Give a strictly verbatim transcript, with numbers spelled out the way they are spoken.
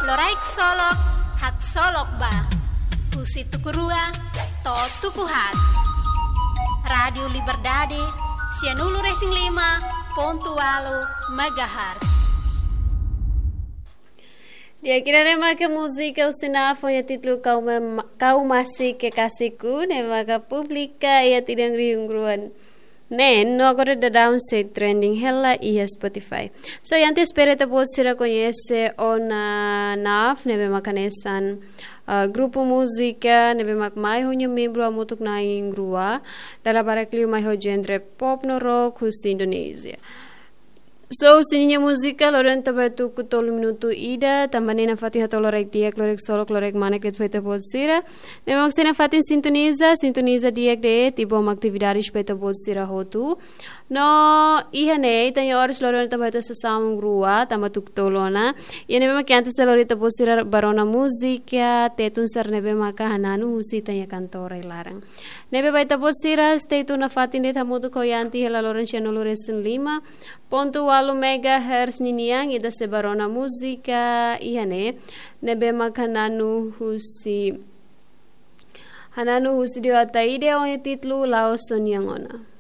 Loraik Solok, haksolok ba. Husi tuku rua to'o tuku haat. Rádiu Liberdade, sianulu-resin-lima pontu ualu megahertz. Di'ak, ida-ne'e maka múzika husi Naf ho títulu Kau Ma-, Kau Masih Kekasihku, ne'e maka publika iha tinan rihun rua neen, no agora daudaun sei trending hela iha Spotify. So, antes espera ita-boot sira koñese ona Naf, ne'ebé maka hanesan, ah, grupu múzika ne'ebé mak mai ho nia membru hamutuk na'in rua, dala barak liu mai ho genre pop no rock husi Indonézia. So, husi ninia múzika, loron ita bá tuku tolu minutu ida, tanba ne'e nafatin hato'o loraik di'ak, loraik solok, loraik manek de'it ba ita-boot sira. Ne'ebé mak sei nafatin sintoniza, sintoniza di'ak de'it, i bom atividades ba ita-boot sira hotu. No, iha ne'e, ita-nia oras loron ita bá tuku sasán rua, tanba tuku tolu ona. Iha ne'ebé mak antes sei lori ita-boot sira ba rona múzika, Tetun sira ne'ebé maka hananu husi ita-nia kantora iha laran. Ne'ebé ba ita-boot sira, stay tune nafatin de'it hamutuk ho Yanti hela loron sianulu-resin-lima pontu ualu megahertz ninian, ita sei bá rona múzika iha ne'e, ne'ebé maka hananu husi, hananu husi Dioata Ide ho títulu La'ós Ó-nian Ona.